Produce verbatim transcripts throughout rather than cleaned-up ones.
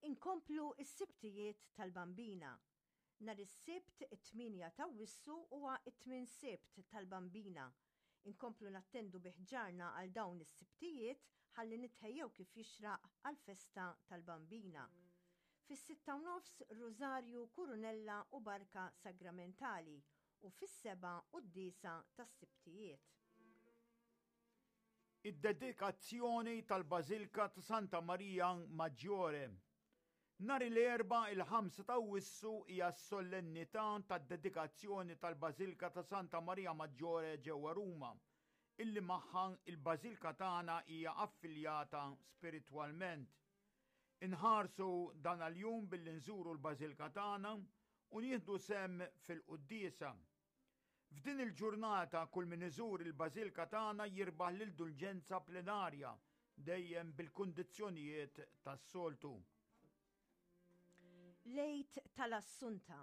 Inkomplu s-Sibtijiet tal-Bambina. Nhar is-Sibt it-tmienja t'Awwissu huwa t-tmien Sibt tal-Bambina. Inkomplu nattendu bi ħġarna għal dawn is-Sibtijiet ħalli nitħejjew kif jixraq għall-festa tal-Bambina. Fis-sitta u nofs Rużarju, Kurunella u Barka Sagramentali u fis-sebgħa quddiesa tas-Sibtijiet. Id-dedikazzjoni tal-Bażilka ta' Santa Maria Maggiore. Nhar l-Erbgħa il-ħamsa ta' Awwissu hija s-solennità tad-dedikazzjoni tal-Bażilka ta' Santa Maria Maggiore ġewwa Ruma, illi magħha il-Bażilka tagħna hija affiljata spiritwalment. Inħarsu dan għal-jum billi nżuru l-Bażilka tagħna u nieħdu sehem fil-quddiesa. F'din il-ġurnata kull min iżur il-Bażilka tagħna jirbaħ l-indulġenza plenarja dejjem bil-kundizzjonijiet tas-soltu. L-Għid tal-Assunta.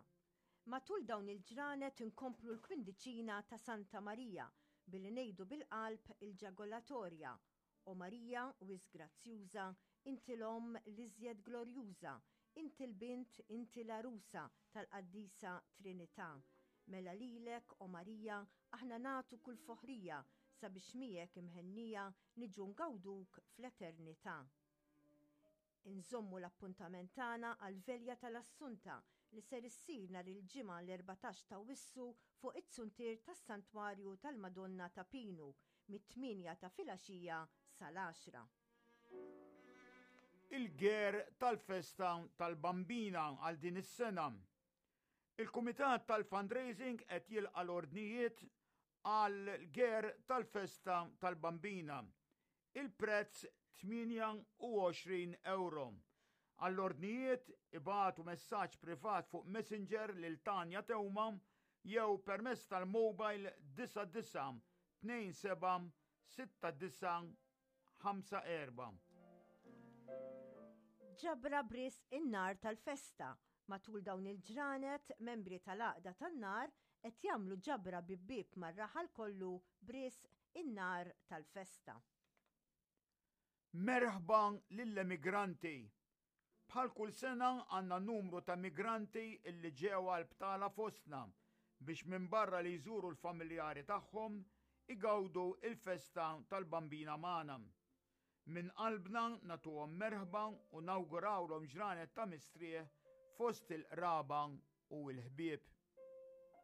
Matul dawn il-ġranet inkomplu l-kwindiċina ta' Santa Marija billi ngħidu bil-qalb il-ġagolatorja. O Marija, wisq grazzjuża, inti l-omm l-iżjed glorjuża, inti l-bint, inti l-arusa tal-Qaddisa Trinità. Mela lilek, o Marija, aħna nagħtu kull foħrija sabiex miegħek imhennija niġu ngawduk fl-eternità. Inżommu l-appuntament tagħna għal-Velja tal-Assunta li ser issir nhar il-Ġimgħa l-erbatax ta' Awwissu fuq it-suntier tas-Santwarju tal-Madonna ta' Pinu mit-tmienja ta' filgħaxija sal-għaxra. Il-ger tal-festa tal-Bambina għal din is-sena. Il-Kumitat tal-Fundraising qed jilqa' l-ordnijiet għal ger tal-festa tal-Bambina. Il-prezz tmienja u għoxrin euro. Għall-ordnijiet ibagħtu messaġġ privat fuq Messenger lil Tanja Teuma jew permezz tal-mobile disgħa disa tnejn seba sitta disa ħamsa erba. Ġabra b'risq in-nar tal-festa. Matul dawn il-ġranet, membri tal-Għaqda tan-Nar qed jagħmlu ġabra bieb bieb mar-raħal kollu b'risq in-nar tal-festa. Merħba lill-emigranti. Bħal kull sena għandna numru ta' migranti illi ġew għal btala fostna biex minn barra li jżuru l-familjari tagħhom igawdu il-festa tal-Bambina magħna. Minn qalbna nagħtuhom merħba u nawgurawlhom ġranet ta' mistrieħ fost il-qraba u l-ħbieb.